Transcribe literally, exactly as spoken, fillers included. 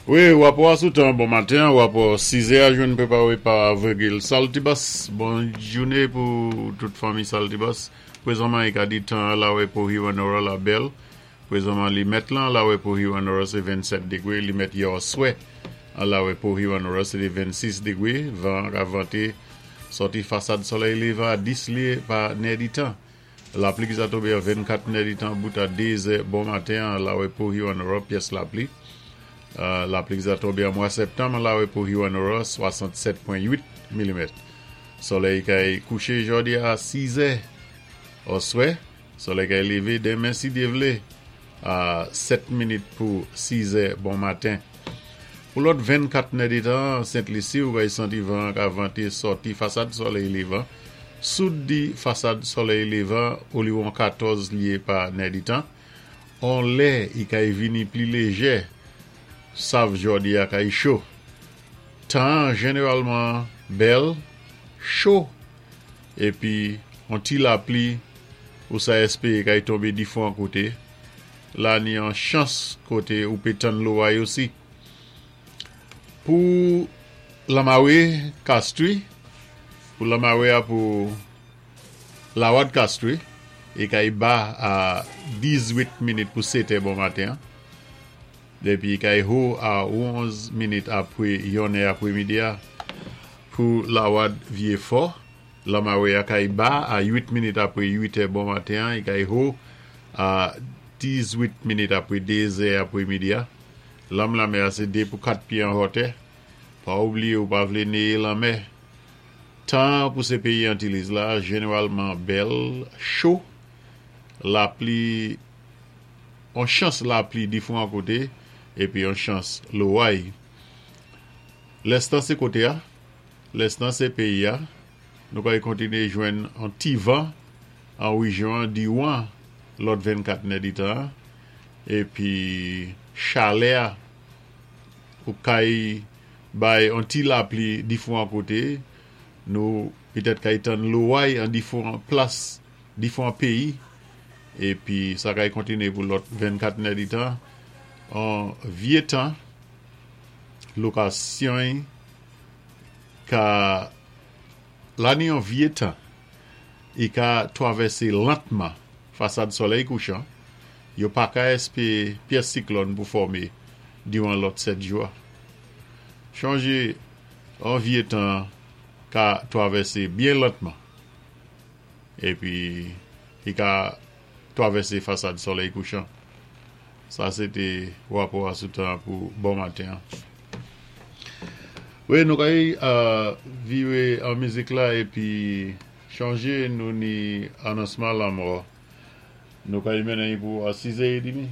Wi, wapò a sou tan, bon maten, wapò sizè a jwenn pwépawé pa Virgil Saltibus. Bon jouné pou tout fanmi Saltibus. Pwézanman, i ka di tan lawé pou Hewanorra la bèl. Pwézanman, li mèt lan lawé pou Hewanorra sé vennsèt dégwé. Li mèt yè oswè an lawé pou Hewanorra sé vennsis dégwé. Van ka vanté sòti fasad solèy lévan a dis lyé pa nèditan. Lapli ki sa tonbé a vennkat nèditan bout a dézè bon maten an lawé pou Hewanorra pyès lapli. Euh, lapli ki sa tonbé an mwa septanm lawé pou Hewanorra swasannsèt pwen uit milimèt. Solèy kay kouché jòdi a sizè oswè. Solèy kay lévé denmen si Dye vlé a sèt minit pou sizè bon maten. Pou lòt vennkat nèditan, Sent-Lisi ou kay santi van ka vanté sòti fasad solèy lévan. Soud di fasad solèy lévan oliwon katòz lyé pa nèditan. On lè i kay vini pli léjè, sav jòdi a kay cho. Tan jénéwalman bèl, cho, épi on ti lapli ou sa èspéwé kay tonbé difwan koté. La ni an chans koté ou pé tann loway osi. Pou Lamawé Kastri, pou Lamawé a pou Lawad Kastri, i kay ba a dizwit minit pou sétè bon maten. Dépi kay ho a onz minit apwé yonnè apwémidi a. Pou Lawad Vyé Fò, Lamawé a kay ba a uit minit apwé uitè bon maten, i kay ho a dizwit minit apwé dézè apwémidi a. Lanm lanmè a sé dé pou kat pyé an wotè. Pa oubliyé ou pa vlé néyé lanmè. Tan pou sé péyi Antiliz la, jénéwalman bèl, cho, lapli, on chans lapli difwan koté, épi on chans loway. Lès tan sé koté a, lès tan sé péyi a, nou kay kontiné jwenn an ti van an wéjyon diwan lòt vennkat nèditan, épi chalè a ou kay bay an ti lapli difwan koté, nou pitèt kay tann loway an difwan plas, difwan péyi, épi sa kay kontiné pou lòt vennkat nèditan, an vye tan, lokasyon ka la ni an vye tan, i ka twavèsé lantman fasad solèy kouchan, yo pa ka èspéwé pyès siklòn pou fòmé diwan lòt sèt jou. Chonjé, an vye tan ka twavèsé byen lantman, épi i ka twavèsé fasad solèy kouchan. Sa, sé té wapò a sou tan pou bon maten. Wi, nou kay euh, viwé an mizik la épi chonjé nou ni anonsman lanmò. Nou kay mennen pou a sizè édmi.